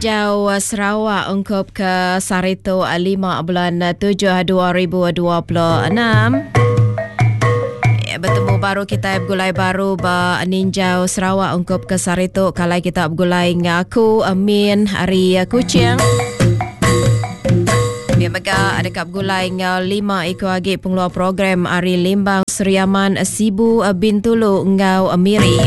Ninjau Sarawak ungkup ke sehari tu 5 bulan 7 2026. Ya, Betemu baru kita begulai baru ba Ninjau Sarawak ungkup ke sehari tu kalai kita begulai enggau aku Min ari Kuching. Pia mega deka begulai enggau lima iku agi pengeluar program ari Limbang, Sri Aman, Sibu, Bintulu enggau Miri.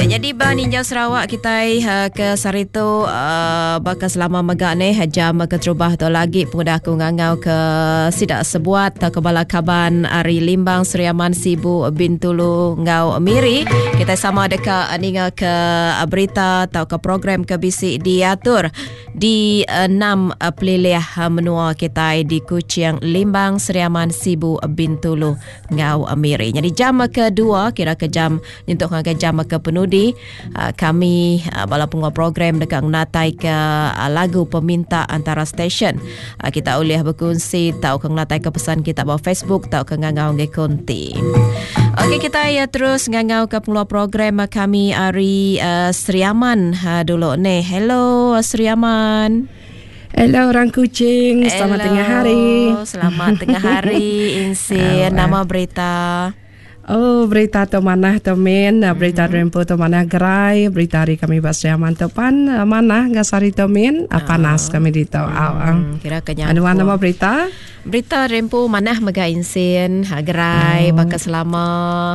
Ya, jadi ba Ninjau Sarawak kitai uh, ke sehari tu uh, baka selama mega neh jam keterubah tu lagi pengudah aku ngangau ke sida sebuat atau ke bala kaban ari Limbang, Sri Aman, Sibu, Bintulu enggau Miri. Kitai sama deka ninga ke berita atau ke program ke bisi diatur Di enam pelilih menua kitai di Kuching, Limbang, Sri Aman, Sibu, Bintulu enggau Miri. Nyadi jam kedua kira ke jam nyentuk ngagai jam ke penudi kami bala penguat program deka ngenatai ke lagu peminta antara stesen. Kita ulih bekunsi tauka ngenatai ke pesan kita ba Facebook tauka ngangau ngagai konti. Okey kita ya terus ngangau ke pengeluar program kami ari uh, Sri Aman uh, dulu ni. Hello Sri Aman. Hello orang Kuching, selamat Hello. tengah hari. Selamat tengah hari Insin. Nama berita? Oh berita tu manah tu min, berita mm-hmm. Rempu tu manah gerai, berita hari kami ba Sri Aman tu pan eh, manah ga sehari tu min, oh. panas kami ditu. Mm, kira ke nyangkut. Anu nama berita? Berita Rempu manah mega insin, ha, gerai oh. baka selama.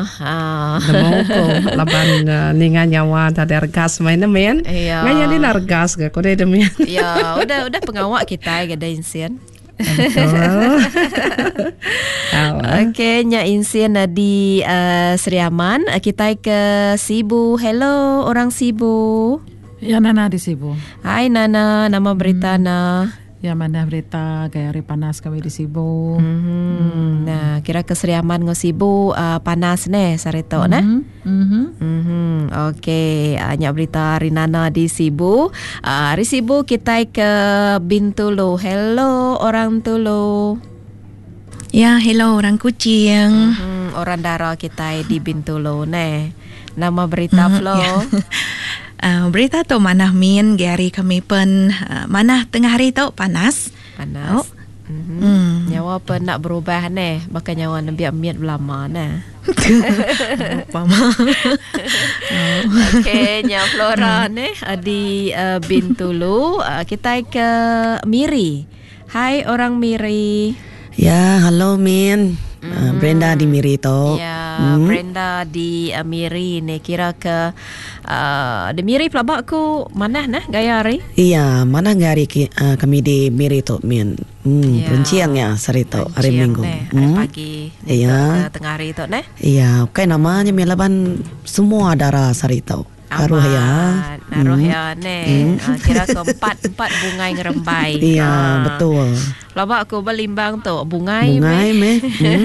Ha. Nemu ko laban uh, ninga nyawa tadi regas main ne min. Iya. Ngai nyadi regas ga ko deh min. Ya, udah udah pengawa kita ga insin. Okey, nya insin eh, di uh, Sri Aman. Eh, kita ke Sibu. Hello orang Sibu. Ya Nana di Sibu. Hai Nana, nama berita na? Ya mana berita gaya hari panas kami di Sibu. Mm-hmm. Nah, kira ke Sri Aman ngau Sibu uh, panas neh sehari tu mm-hmm. neh. Mm-hmm. Mm-hmm. Okey, uh, nya berita hari Nana di Sibu. Uh, hari Sibu kita ke Bintulu. Hello orang Tulu. Ya, hello orang Kuching. Mm-hmm. Orang dara kita di Bintulu neh. Nama berita mm, Flo. Ya. Uh, berita tu manah min hari kami pen uh, manah tengah hari tu panas. Panas. Oh. Mm-hmm. Mm. Nyawa pen nak berubah neh, baka nyawa nembiak mit belama neh. Apa mah. Okey, nya Flora mm. neh di uh, Bintulu, uh, kita ke Miri. Hai orang Miri. Ya, hello Min. Mm. Uh, Brenda di Miri tu. Ya, mm. Brenda di uh, Miri ni kira ke Uh, di Miri pelaba aku manah nah gaya hari. Iya, manah gaya hari ki, uh, kami di Miri tu min. Hmm, Ya. perencing ya sehari tu, hari Perencing Minggu. neh, hari Hmm. pagi Iya. ke tengah hari tu neh. Iya, ukai nama nya min laban semua dara sehari tu. Aruh ya. Amat, Aruh ya neh. Ah, kira ke empat empat bungai ngerembai. Iya, Ah. betul. Pelaba aku ba Limbang tu bungai, Bungai meh. meh. Hmm.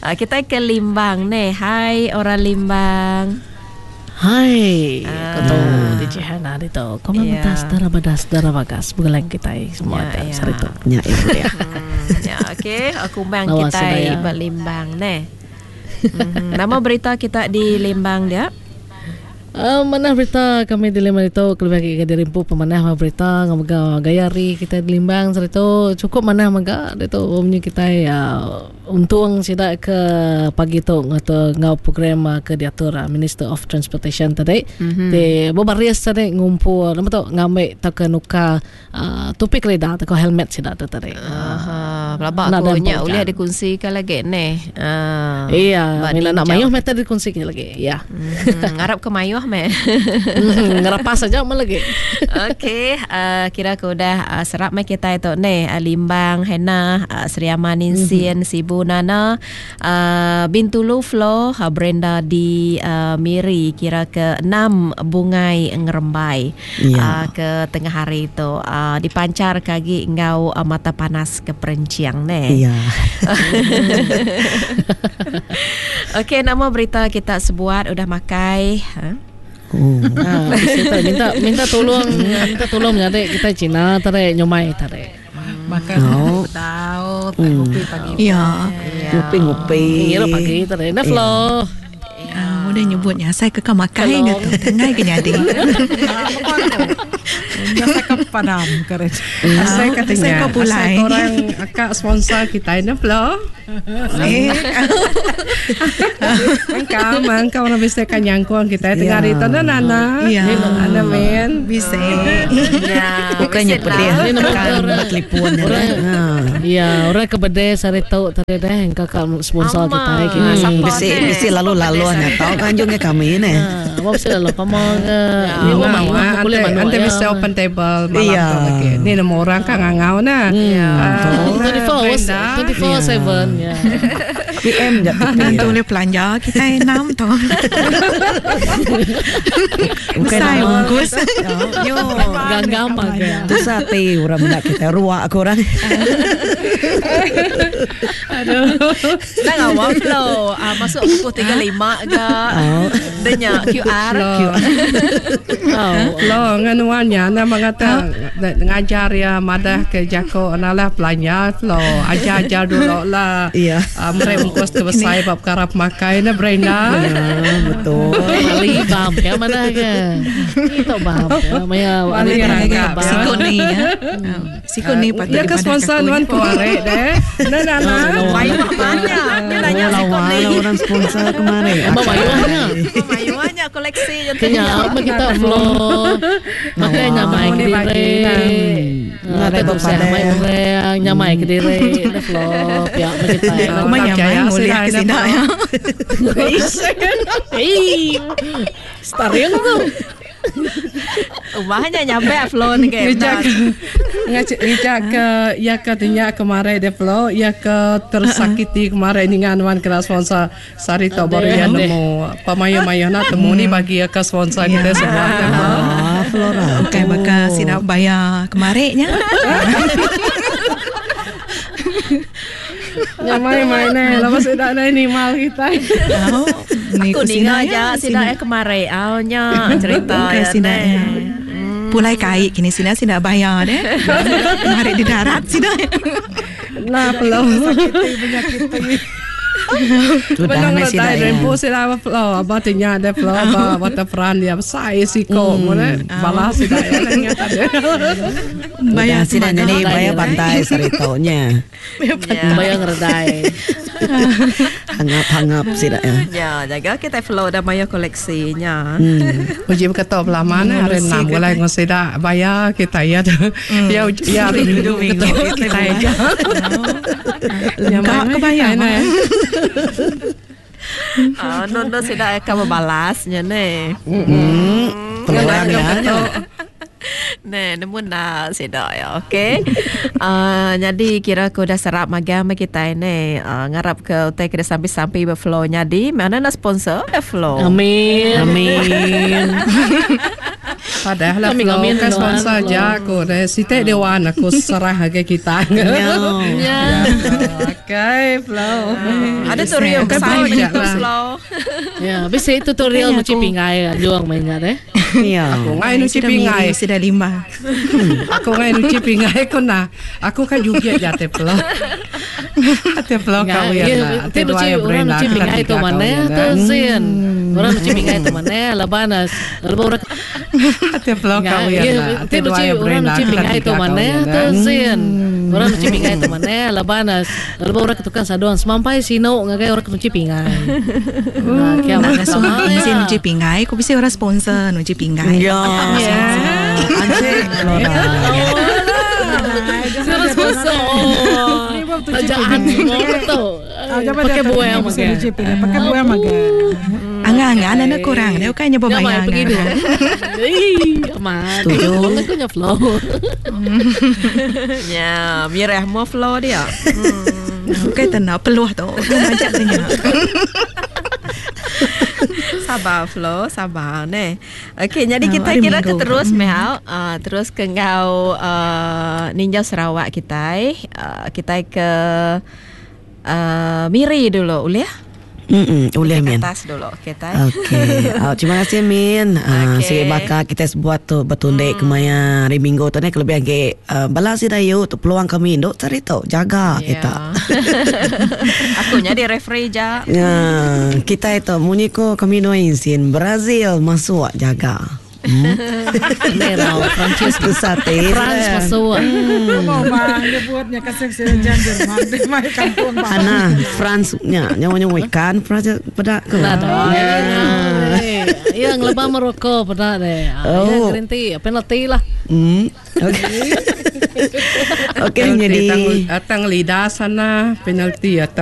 Ah, kita ke Limbang neh. Hai orang Limbang. Hai, Ah. aku tu DJ Hana ditu. Kau Ya. mentas darah badas darah bagas begelang kita semua Ya, ya, ya. sehari tu. Nya ibu dia. Ya, okey. Aku bang Lawa kita sedaya. ba Limbang neh. Mhm. Nama berita kita di Limbang dia? Manah berita kami di Limbang itu kelebih agi ke diri empu pemanah mah berita enggau mega gaya hari kitai di Limbang saritu chukup manah mega ditu munyi kitai uhh untung sida ke pagi tu ngatur enggau program ke diatur Minister of Transportation tadi ti bebaris tadi ngumpul nama tu ngambi tauka nukar uhh topi kerida tauka helmet sida tu tadi. Aha, pelaba Enda aku ada nya empu ulih ujan. dikunsika lagi neh. Ah. Iya, Ba mina nak ninjau. mayuh meh tadi dikongsi lagi. Ya. Ngarap ke mayuh meh. Ngerapas aja meh lagi. Okey, uh, kira ke udah uh, serap meh kita itu neh. Uh, Limbang, Hena, uh, Sri Aman, Insin, Sibu, Nana, uh, Bintulu, Flo, uh, Brenda di uh, Miri kira ke enam bungai ngerembai. Ya. Uh, ke tengah hari tu uh, dipancar ke agi enggau uh, mata panas ke perencing neh. Ya. Okey, nama berita kita sebuat udah makai. Ha? Oh. Ha, bisi tu minta minta tolong minta tolong menyadi kita Cina tarik nyumai tarik. Makan Oh. tahu tak kopi pagi. Ya. Ngupi-ngupi. Ngirup pagi tarik. Nah, Flo. Uh, Udah nyebutnya asai ke ka makai ga tu. Tenggai ke nyadi. Asai ke padam ke re. Asai ke Asai tengah. ke pulai. Asai ke orang akak sponsor kita ini pula. Eh. Engkau, engkau orang bisa kan nyangkung kita tengah hari tu nana. Ya. Ana men. Bisa. Ya. Bukannya pedih Ini nama tekan orang- telefon ya. orang- Ha. Ya, orang ke bedeh sari tau tadi dah engkau ka sponsor Ama. kita kini. Siapa Bisi ni? bisi lalu lalu nya tau kanjungnya kami ni. Ah, apa mesti lalu pamong ke. Ni Nah, mau wah, boleh ante manuk ante ya. bisa open table malam Iya. tu lagi. Ni nama orang kan ngangau nah. Ah, 24 hours, Brenda. 24/7 ya. PM je Nanti boleh belanja kita enam tu. Bukan Besar nama. bungkus. Yo. Ganggam agak. Tu sate orang nak kita ruak ke orang. Dah ngawal flow. Ah, masuk pukul 35 ke. Denya QR. Oh. Lo nganuannya na mengata ngajar ya madah ke jako analah belanja lo ajar-ajar dulu lah. Iya. Ah, mereka bungkus ke besar bab karap makai na Brenda. Ya, betul. Bali bam ya mana ke. Itu bam ya. Maya Bali ada rangkap. bam. Sikut ni ya. Sikut ni patut Ya ke sponsor nuan kuare deh. Na na na. Mayuh banyak. Dia nanya sikut Lawa ni. lah orang sponsor kemarin. Apa mayuhnya? Mayuhnya koleksi je tu. Kenya apa kita flow. Makanya nyamai ke Ni bagi, diri. Nah, Ada tu saya bepada. mai orang nyamai ke diri. Dah flow pihak kita. Aku mah nyamai mulia ke sini ya. Eh, Stariang tu. Ubahnya nyampe flow ni ke. Ngejak ngejak ngejak ke ya ke tanya kemarin dia flow ya ke tersakiti kemarin ni nganuan kena sponsor sari to baru ya nemu pemayu-mayu nak temu ni bagi ya ke sponsor kita semua dia flow. Ah, Flora. Bukan bakal sidak bayar kemarinnya. Nyamai main ni lepas sudah ni mal kita. Oh, ni Aku ku ninga sina aja ya, sidak eh kemarin. Awnya cerita Bukan ya sidak ne. ya. Pulai kai kini sina sina bayar deh. Kemarin di darat sina. Lah flow. Sudah Benang ni lah sida tai ya. rempu sila apa flow apa tanya dia flow apa waterfront dia besar siko mana balas sida ya ingat ada. Bayar Sudah sida semaga. ni bayar pantai saritonya. Ya. Bayang redai. Hangap-hangap sida ya. Ya, jaga kita flow dah maya koleksinya. Uji berkata belah mana hari enam mulai ngosida bayar kita ya ya ya hari minggu betul kita aja. Ya Kak kebayang. Nah. Ah, non non sidak akan membalasnya ne. Peluang ya. Ne, nemu nak sidak ya, okey. Jadi kira aku dah serap magang sama kita ni. Ngarap ke utai kena sampai-sampai berflow jadi. Mana nak sponsor eh flow. Amin. Amin. Padahal lah Kami flow ngamin kan sponsor doang, aja aku deh. Site dewan aku serah ke kita. Ya. Okey flow. Ada tutorial Bukan besar flow je betul lah. flow. Ya, bisa tutorial Kayaknya cuci aku- pinggai juang mainnya deh. Ya. Aku ngai nuci Sudah pingai. miri, Sudah lima. Aku ngai nuci pingai aku nah. Aku kan juga jate flow. Ate flow kau ya lah. Itu nuci orang nuci pingai itu mana tu sin. Orang nuci pingai itu mana laban laban orang Ate flow kau ya lah. Itu nuci orang nuci pingai itu mana tu sin. Orang nuci pingai itu mana laban laban orang ketukang saduan semampai sino ngagai orang nuci pingai. Nah, kia Nak mana ngasuh sama bisi ya. nuci pinggai, ku bisi orang sponsor nuci pinggai. Ya. Anjing Flora. Suruh sponsor. Tajaan semua betul. Pakai buah yang Pakai makan. Pakai buah makan. Angah-angah anak kurang, dia bukannya Nyamai berbayar. pergi dulu. Ih, amat. Setuju. Aku nya flow. Ya, mirah mo flow dia. Bukan tenang, peluh tu. Macam tanya. Sabar Flo, sabar ne. Okey, jadi Ah, kita hari kira ke Minggu. terus mehau, terus ke ngau Ninja Sarawak kita, kita ke Miri dulu, boleh? Mm ulih Ke min. atas dulu kita. Okey. Oh, terima kasih min. Okey. Sigi baka kita sebuat tu betundik kemaya hari minggu tu ni kelebih agi bala sida yu tu peluang kami indu sehari tu jaga Ya. kita. Aku nyadi referee ja. Ya, kita itu munyi ko kami dua insin Brazil masuk jaga. Merah Perancis Susah ti. France masuk. Mau bang dia buatnya kasih sejan Jerman di mai kampung bang. Ana France nya nyawa-nyawa ikan France pada ke. Ya ngelebah Morocco pada deh. Ya Oh. gerenti penalti lah. Okey. Okey jadi Tang, tang lidah sana penalti atau